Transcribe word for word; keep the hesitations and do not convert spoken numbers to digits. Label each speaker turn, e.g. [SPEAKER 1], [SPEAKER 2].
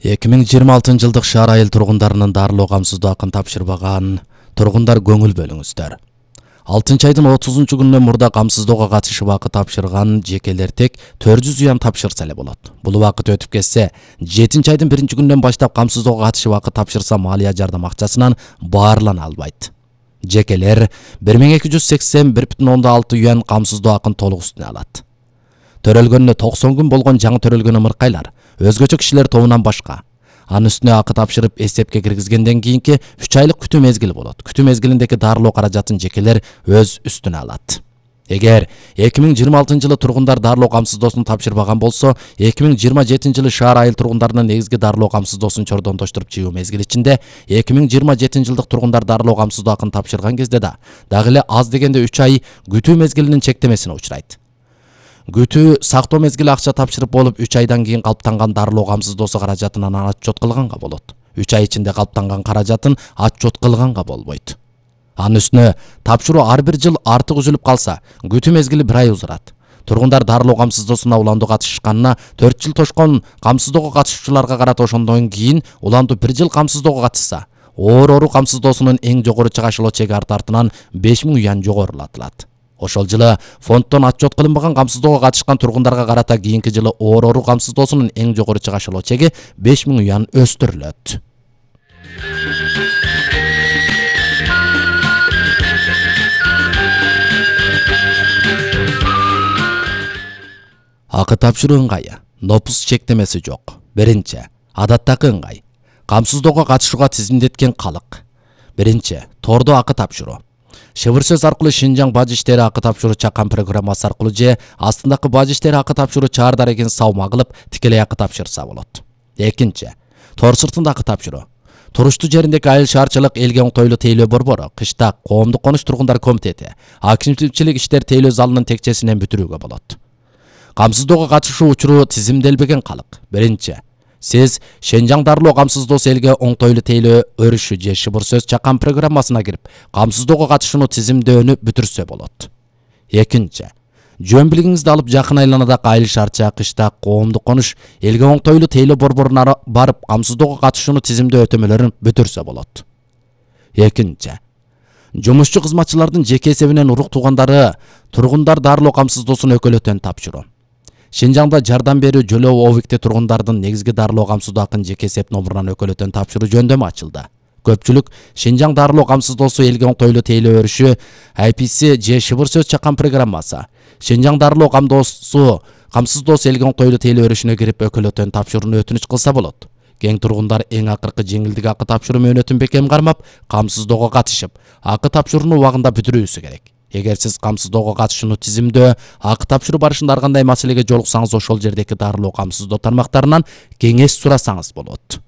[SPEAKER 1] эки миң жыйырма алтынчы жылдык шаар айыл тургундарынын дарылоо камсыздоо акын тапшырбаган тургундар көңүл бөлүңүздөр. алтынчы айдын отузунчу күнүнөн мурда камсыздоого катышып акы тапшырган жекелер тек төрт жүз уян тапшырса эле болот. Бул убакыт өтүп кетсе, жетинчи айдын биринчи күнүнөн баштап камсыздоого катышып акы тапшырса малия жардам акчасынан баарлана албайт. Жекелер бир миң эки жүз сексен бир бүтүн ондон алты уян камсыздоо акын толук үстүнө алат. Төрөлгөнүнө токсон күн болгон жаңы төрөлгөн ымыркайлар өзгөчө кишилер тобунан башка. Анын үстүнө акы тапшырып эсепке киргизгенден кийинки үч айлык күтүү мезгили болот. Күтүү мезгилиндеги дарылоо каражатын жекелер өз үстүнө алат. Эгер эки миң жыйырма алтынчы жылы тургундар дарылоо камсыздоосун тапшырбаган болсо, эки миң жыйырма жетинчи жылы шаар айыл тургундарынын негизги дарылоо камсыздоосун чордонтоштуруп чыгуу мезгили ичинде эки миң жыйырма жетинчи жылдык тургундар дарылоо камсыздоо акын тапшырган кезде да дагы эле аз дегенде үч ай күтүү мезгилинин чектемесине учурайт. Күтүү сактоо мезгили акча тапшырып болуп үч айдан кийин калыптанган дарылоо камсыздоосу каражатынан отчет кылганга болот. үч ай ичинде калыптанган каражатын отчет кылганга болбойт. Анын үстүнө тапшыруу ар бир жыл артык үзүлүп калса, күтүү мезгили бир ай узурат. Тургундар дарылоо камсыздоосуна уландуу катышышканына төрт жыл тошкон камсыздоого катышуучуларга карата ошондон кийин уландуу бир жыл камсыздоого катышса, оор оору камсыздоосунун эң жогору чыгашылоо чеги арты артынан беш миң уян жогорулатылат. Ошол жылы фонддон отчет кылынбаган камсыздоого катышкан тургундарга карата кийинки жылы оор оору камсыздоосунун эң жогору чыгашылоо чеги беш миң уян өстүрүлөт. Акы тапшыруу ыңгайы. Нопус чектемеси жок. Биринчи. Адаттагы ыңгай. Камсыздоого катышууга тизимдеткен калык. Биринчи. Тордо акы тапшыруу. Шыбыр сөз аркылуу Шинжаң бажы иштери акы тапшыруу чакан программасы аркылуу же астындагы бажы иштери акы тапшыруу чаар дарегин салма кылып тикелей акы тапшырса болот. Экинчи. Тор сыртында акы тапшыруу. Туруштуу жериндеги айыл шаарчылык элге оңтойлуу тейлөө борбору, кышта коомдук конуш тургундар комитети, акимчилик иштер тейлөө залынын текчесинен бүтүрүүгө болот. Камсыздоого катышуу учуру тизимделбеген калык. Биринчи. Сиз Шинжаң дарылоо камсыздоосу элге оңтойлуу тейлөө өрүшү же шыбыр сөз чакан программасына кирип, камсыздоого катышууну тизимдөөнү бүтүрсө болот. Экинчи. Жөн билигиңизди алып жакын айланадагы айыл шаарча, кышта коомдук конуш элге оңтойлуу тейлөө борборуна барып, камсыздоого катышууну тизимдөө өтөмөлөрүн бүтүрсө болот. Экинчи. Жумушчу кызматчылардын жеке эсебинен урук туугандары тургундар дарылоо камсыздоосун өкөлөтөн тапшыруу. Шинжаңда жардам берүү жөлөө объекти тургундардын негизги дарылоо камсыздоо акын жеке эсеп номурунан өкөлөтөн тапшыруу жөндөмү ачылды. Көпчүлүк Шинжаң дарылоо камсыздоосу элге оңтойлуу тейлөө өрүшү, ай пи си же шыбыр сөз чакан программасы. Шинжаң дарылоо камсыздоосу камсыздоосу элге оңтойлуу тейлөө өрүшүнө кирип өкөлөтөн тапшырууну өтүнүч кылса болот. Кең тургундар эң акыркы жеңилдик акы тапшыруу мөөнөтүн бекем кармап, камсыздоого катышып, акы тапшырууну убагында бүтүрүүсү керек. Эгер сиз камсыздоого катышууну тизимдөө, акы тапшыруу барышында ар кандай маселеге жолуксаңыз, ошол жердеги дарылоо камсыздоо тармактарынан кеңеш сурасаңыз болот.